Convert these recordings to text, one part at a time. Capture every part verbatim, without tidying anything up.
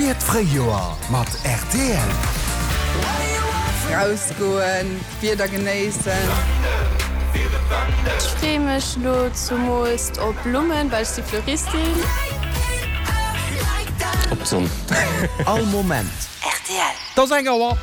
Spier d'Fréijoer mat rtl. Rausgoen, d'Wieder genéissen. Ech freeë mech lo zumools op Blummen, well ech si Fleuristin. Op d'Sonn. All Moment. Rtl. Et ass eng Auer.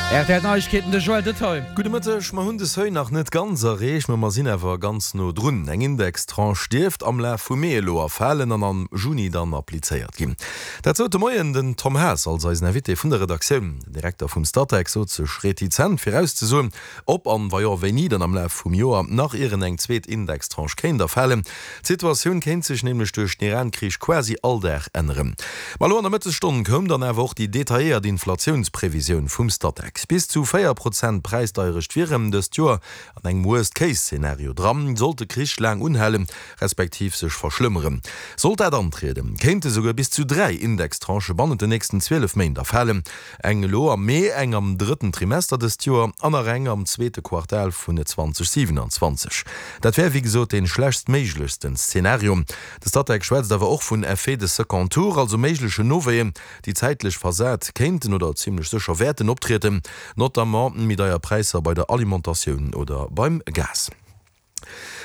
Rtl Neiegkeeten, de Joël Detail. Gudde Mëtteg, Mer hunn de Seuil nach net ganz erreecht, ma mer sinn awer ganz no drun. Eng Indextranche dierft am Laf vum Mee elo erfalen an am Juni dann applizéiert ginn. Dat sot de Moien den Tom Haas als eisen Invité vun der Redaktioun. Den Direkter vum Statec sot sech retizent virauszesoen, ob an, wa jo, wéini dann am Laf vum Joer nach ieren eng zweet Indextranche kéint erfalen. D'Situatioun kéint sech nämlech duerch den Iran-Krich quasi all Dag änneren. Ma elo an der Mëttesstonn koum dann awer och déi detailléiert Inflatiounsprevisioun vum Statec. Bis zu véier Prozent Präisdeierecht wieren dëst Joer an engem Worst-Case-Zenario dran, sollt de Krich laang unhalen, respektiv sech verschlëmmeren. Sollt dat antrieden, kéinte souguer bis zu dräi Indextranchë bannent den nächsten zwielef Méint erfalen, eng elo am Mee, eng am drëtten Trimester dëst Joer an nach eng am zweete Quartal vun zweitausendsiebenundzwanzig. Dat wär wéi gesot dee schlechtstméiglechsten Szenario. De Statec schwätzt awer och vun Effets de second tour, also méiglechen Nowéien, déi zäitlech versat kéinten oder zimlech sécher wäerten optrieden, notamment méi deier Präisser bei der Alimentatioun oder beim Gas.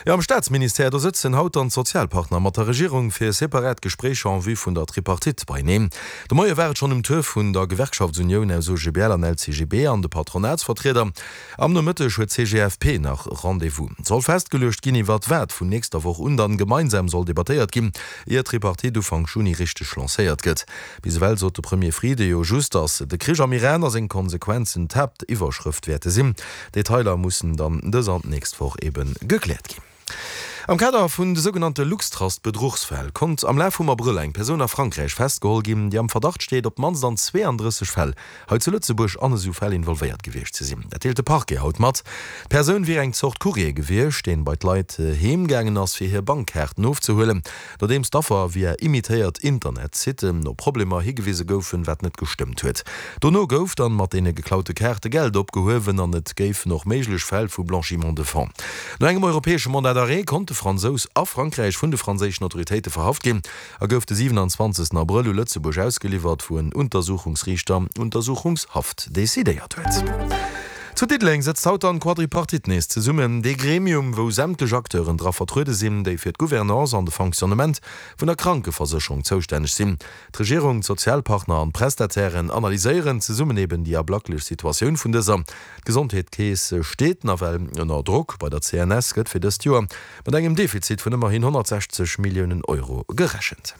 Jo, am Staatsministère, do sëtzen haut dann d'Sozialpartner mat der Regierung fir separat Gespréicher en vue vun der Tripartite beieneen. De Moie war et schonn um Tour vun der Gewerkschaftsunioun aus O G B L an L C G B an de Patronatsvertrieder. Am Nomëtteg huet d'C G F P nach Rendez-vous. Et soll festgeluecht ginn, iwwert wat vun nächster Woch un dann gemeinsam soll debattéiert ginn, ier d'Tripartite Ufank Juni richteg lancéiert gëtt. Bis ewell sot de Premier Frieden jo just, datt de Krich am Iran a seng Konsequenzen d'Haaptiwwerschrëft wäerte sinn. Detailer mussen dann dës an d'nächst Woch eben gekläert ginn. Am Kader vun de sougenannte Luxtrust-Bedruchsfäll konnt am Laf vum Abrëll eng Persoun a Frankräich festgeholl ginn, déi am Verdacht steet, op d'mannst an zweeandrësseg Fäll hei zu Lëtzebuerg an esou Fäll involvéiert gewiescht ze sinn. Dat deelt de Parquet haut mat. D'Persoun wier eng Zort Courrier gewiescht, deen bei d'Leit heem gaangen ass, fir hir Bankkaarten ofzehuelen, nodeems d'Affer via imitéiert Internetsitten op Problemer higewise goufen, wat net gestëmmt huet. Dono gouf dann mat deene geklaute Kaarte Geld opgehuewen an et géifen och méiglech Fäll vu Blanchiment de fonds. No engem europäesche Mandat d'arrêt konnt de Fransous a Frankräich vun de franséischen Autoritéite verhaft ginn a gouf de siewenundzwanzegsten Abrëll u Lëtzebuerg ausgeliwwert, wou en Untersuchungsriichter Untersuchungshaft decidéiert huet. Zu Diddeleng sëtzt haut dann d'Quadripartite nees zesummen, dee Gremium, wou sämtlech Acteuren dra vertruede sinn, déi fir d'Gouvernance an de Fonctionnement vun der Krankeversécherung zoustänneg sinn. D'Regierung, d'Sozialpartner an d'Prestatairen analyséieren zesummen eben déi ablacklech Situatioun vun dëser. D'Gesondheetskeess steet nawell ënner Drock. Bei der C N S gëtt fir dëst Joer mat engem Defizit vun ëmmerhin honnertsechzeg Milliounen Euro gerechent.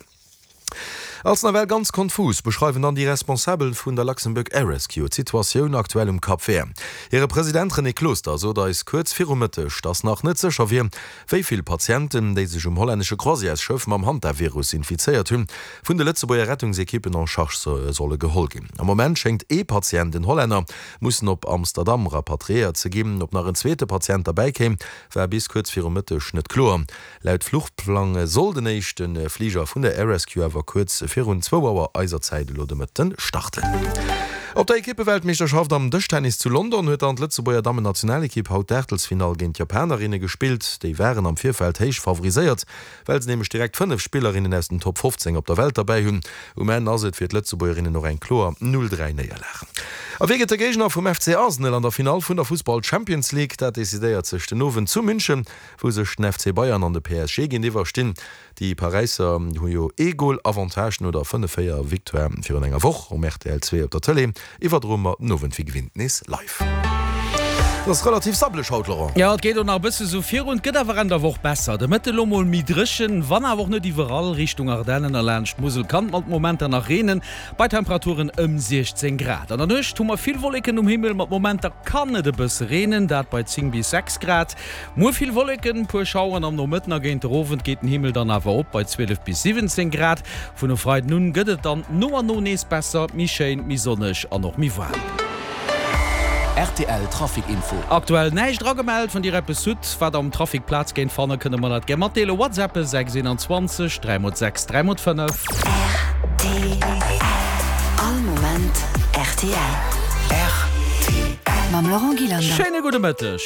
Als nawell ganz konfus beschreiwen dann déi Responsabel vun der Luxembourg Air Rescue d'Situatioun aktuell um Cap Vert. Hire President René Closter sot eis kuerz viru Mëtteg, datt nach net sécher wier, wéi vill Patienten, déi sech um hollännesche Croisièresschëff mam Hantavirus infizéiert hunn, vun de Lëtzebuerger Rettungsekippen en charge solle geholl ginn. Am Moment schéngt ee Patient, en Hollänner, mussen op Amsterdam rapatriéiert ze ginn. Ob nach en zweete Patient derbäi kéim, war bis kuerz viru Mëtteg net kloer. Laut Fluchplang soll den éischte Fliger vun der Air Rescue awer kuerz virun zwou Auer eiser Zäit elo de Mëtten starten. Op der Ekippeweltmeeschterschaft am Dëschtennis zu London huet dann d'Lëtzebuerger Dammennationalekipp haut d'Aachtelsfinall géint d'Japanerinne gespillt. Déi waren am Virfeld héich favoriséiert, well se nämlech direkt fënnef Spillerinnen aus den Top fofzéng op der Welt derbäi hunn. Um Enn ass et fir d'Lëtzebuergerinnen och eng kloer null dräi Néierlag. A wie gëtt de Géigner vum F C Arsenal an der Finall vun der Fussball Champions League? Dat decidéiert sech den Owend zu München, wou sech den F C Bayern an de P S G géintiwwer stinn. Déi Paräisser hu jo ee Gol Avantage no der fënnef véier Victoire virun enger Woch. Um R T L zwee op der Tëlee iwwerdroe mer den Owend wéi gewinnt nees live. Et ass relativ sabbleg haut, Laurent. Jo, et geet och nach e bësse sou virun, et gëtt awer Enn der Woch besser. De Mëtte lo mol méi dréchen, wann awer och net iwwerall. Richtung Ardennen a laanscht d'Musel kann et mat Momenter nach reenen, bei Temperaturen ëm siechzéng Grad. An der Nuecht hu mer vill Wolleken um Himmel, mat Momenter kann et e bësse reenen, dat bei zéng bis sechs Grad. Muer vill Wolleken, puer Schaueren, am Nomëtten a géint der Owend geet den Himmel dann awer op bei zwielef bis siwwenzéng Grad. Vun e Freiden un gëtt et dann no an no nees besser, méi schéin, méi sonneg an och méi waarm. R T L Trafic Info. Aktuell näischt eragemellt. Wann dir eppes hutt, wat am Trafic Plaz géint fannen, kënne mer dat gär matdeelen. WhatsAppe sechs eenanzwanzeg dräi mol sechs dräi mol fënnef. R T L. All Moment R T L. R T L. Mam Laurent Gillander. Schéine gudde Mëtteg.